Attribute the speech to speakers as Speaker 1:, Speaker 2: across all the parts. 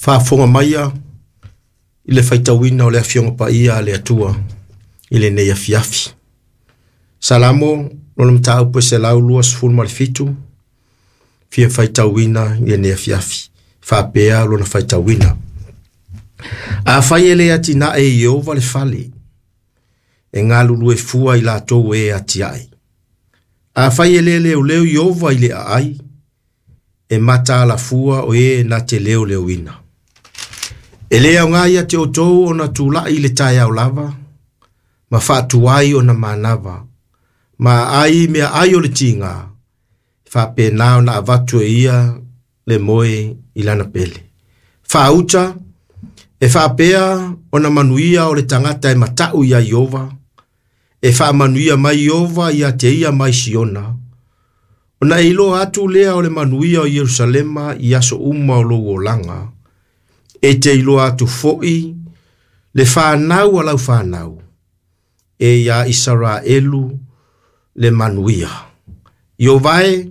Speaker 1: Faafofoga maia i le faitauina o le Afioga Paia a le Atua i lenei afiafi. Salamo, lona mataupu e 127, fia faitauina i lenei afiafi. Faapea lona faitauina. Afai e le atinae e Ieova le fale, e galulue fua i latou e atiae. Afai e le leoleo Ieova i le aai, e mataala fua o e na te leoleoina. E le aoga ia te outou ona tulai i le taeao lava, ma faatuai ona manava, ma aai meaai o le tiga, e faapena ona avatu e ia le moe i lana pele. Faauta, e faapea ona manuia o le tagata e matau iā Ieova, e faamanuia mai Ieova ia te ia mai Siona, ona e iloa atu lea o le manuia o Ierusalema i aso uma o lou olaga, e te iloa atu foi le fanau a lau fanau, e iā Isaraelu le manuia. Ieova e,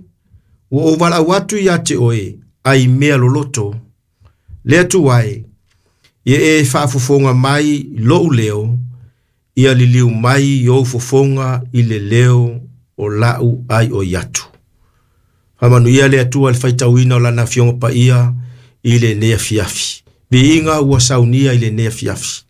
Speaker 1: ua ou valaau atu ia te oe, ai mea loloto, le Atua e, ia e faafofoga mai lou leo, ia liliu mai i ou fofoga i le leo o lau aioi atu. Faamanuia le Atua i le faitauina o Lana Afioga Paia i lenei afiafi. Viiga ua saunia i lenei afiafi.